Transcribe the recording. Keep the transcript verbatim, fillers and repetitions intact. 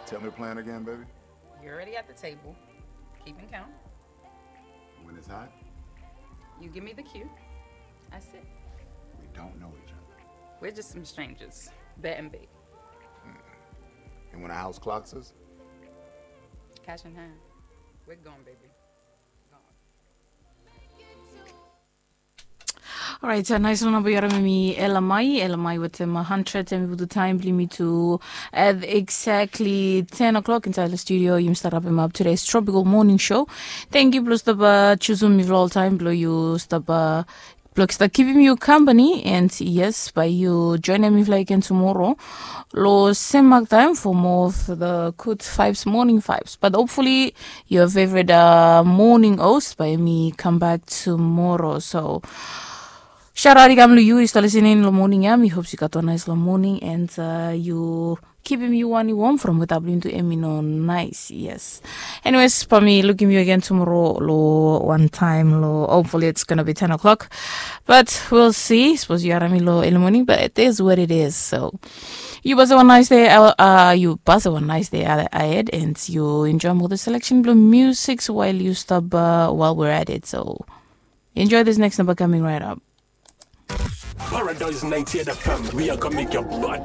Tell me the plan again, baby. You're already at the table, keeping count. When it's hot, You give me the cue, I sit. We don't know each other. We're just some strangers, bet and big. And when a house clocks us, Cash in hand. We're gone, baby. Gone. Alright, so nice namba yu harim em i L M I, L M I wetem hundred, em i putum taem blong yumi to at exactly ten o'clock inside the studio. Yumi stap rapem ap today's Tropical Morning Show. Thank you blong stap jusum mifala oltaem blong yu stap blong stap kipim yu company, and yes, bae yu joenem mifala again tomorrow long sem mak taem for more of the good vibes, morning vibes. But hopefully your favorite uh, morning host bae mi come back tomorrow. So shout out i kam long yu i stap listening long morning ya. Mi hope yu gat wan nice long morning, and uh, yu kipim yu wan i warm from weta blong yu tu em i no nice. Yes. Anyways, bae mi lukim yu again tomorrow long wan taem long, hopefully it's gonna be ten o'clock. But we'll see. Sapos yu harim mi long early morning, but it is what it is. So yu pasem wan nice day, uh, yu pasem wan nice day ahed, and yu enjoem ol selection blong music while yu stap uh, while we're at it. So enjoy this next number coming right up. Paradise ninety-eight F M, we are gonna make your body